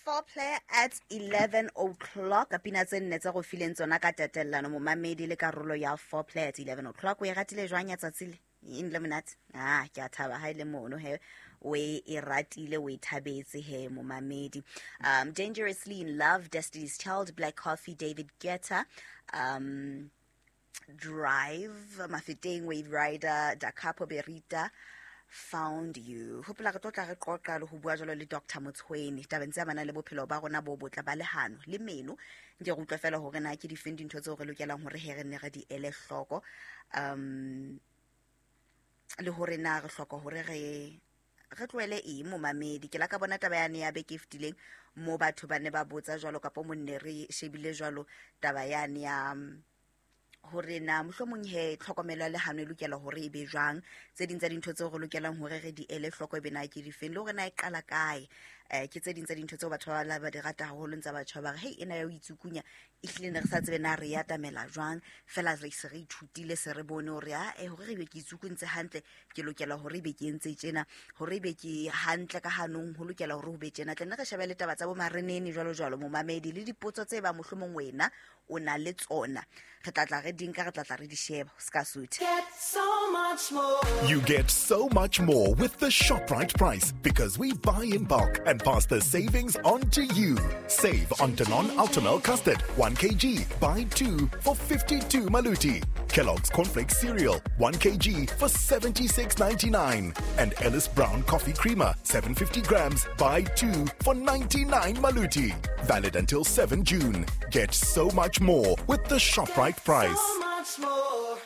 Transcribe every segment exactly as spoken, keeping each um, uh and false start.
Foreplay at eleven o'clock. Pina tse nne tse go fileng tsona ka tatellano momamedi le karolo ya Foreplay at eleven o'clock. O e ratile jwang ya tsatsi le? Eng le monate? Ah, ke a thaba ha ile mono he. O e ratile, o e thabetse he momamedi. Um, Dangerously in Love, Destiny's Child, Black Coffee, David Guetta, um, Drive, Mafeteng, Wave Rider, Da Capo Berita, Found You. Hopola re tlo tla re qoqa le ho bua jwalo le Doctor Motshweni tabeng tse amanang le bophelo ba rona bo botle ba lehano le meno. Nke re utlwe fela hore na ke difeng dintho tseo re lokelang hore he re nne re di ele hloko, um le hore na re hloka hore re re tlohele eng momamedi. Ke la ka bona taba yane ya beke e fetileng mo batho ba ne ba botsa jwalo kapa mo nne re shebile jwalo taba yane ya hore na mohlomong he tlhokomelo ya lehano e lokela hore e be jwang, tse ding tsa dintho tseo re lokelang hore re di ele hloko e be na ke difeng, le hore na e qala kae. Eh, ke tse ding tsa dintho tseo batho ba la ba di rata haholo ntse batho ba re hei ena ya ho itsukunya ehlile ne re sa tsebe na re e atamela jwang, fela re se re ithutile se re bone hore a eh hore re be ke itsukuntse hantle ke lokela hore ebe ke entse tjena, hore ebe ke hantle ka hanong ho lokela hore ho be tjena. Tle nne re shebe le taba tsa bo marenene jwalo jwalo momamedi le dipotso tse ba mohlomong wena o na le tsona, re tla tla re di nka, re tla tla re di sheba. Se ka suthe. Get so much more. You get so much more with the ShopRite price because we buy in bulk and pass the savings on to you. Save on Danone Ultimel Custard, one kilogram, buy two for fifty-two maluti. Kellogg's Cornflakes Cereal, one kilogram for seventy-six ninety-nine. And Ellis Brown Coffee Creamer, seven hundred fifty grams, buy two for ninety-nine maluti. Valid until seventh June. Get so much more with the ShopRite price. So much more.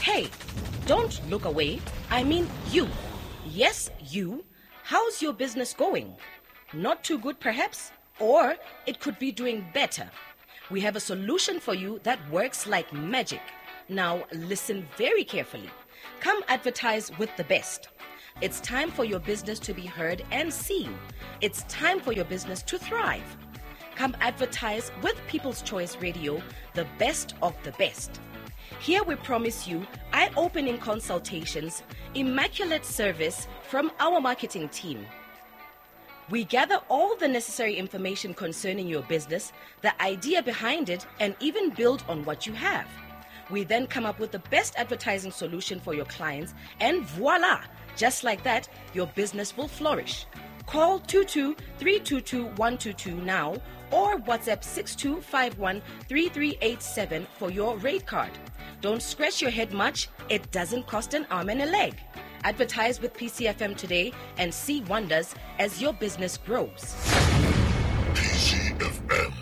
Hey, don't look away. I mean you. Yes, you. How's your business going? Not too good, perhaps? Or it could be doing better. We have a solution for you that works like magic. Now, listen very carefully. Come advertise with the best. It's time for your business to be heard and seen. It's time for your business to thrive. Come advertise with People's Choice Radio, the best of the best. Here we promise you eye-opening consultations, immaculate service from our marketing team. We gather all the necessary information concerning your business, the idea behind it, and even build on what you have. We then come up with the best advertising solution for your clients, and voila! Just like that, your business will flourish. Call two two three two two one two two now or WhatsApp six two five one three three eight seven for your rate card. Don't scratch your head much. It doesn't cost an arm and a leg. Advertise with P C F M today and see wonders as your business grows. P C F M,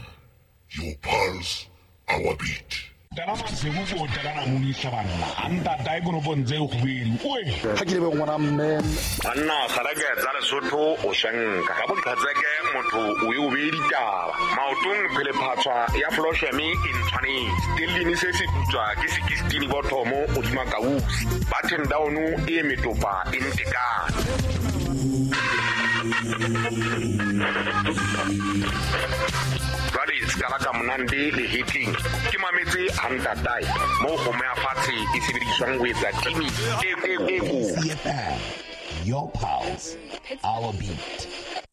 your pulse, our beat. Ha ke le ngwana mme banna sarake tsa Lesotho o shanka ka boqhatseke motho o e o be ditaba maotong phele phatswa ya Floshemi e ntshwanetse stellini se se putswa ke sixteen bothomo o dima kausi button down e metopa e ntekana jwale skala ka monande le hitting ke mametse hantatai mo go me afatshe e sebediswang ho etsa timi e e e Your pulse, our beat.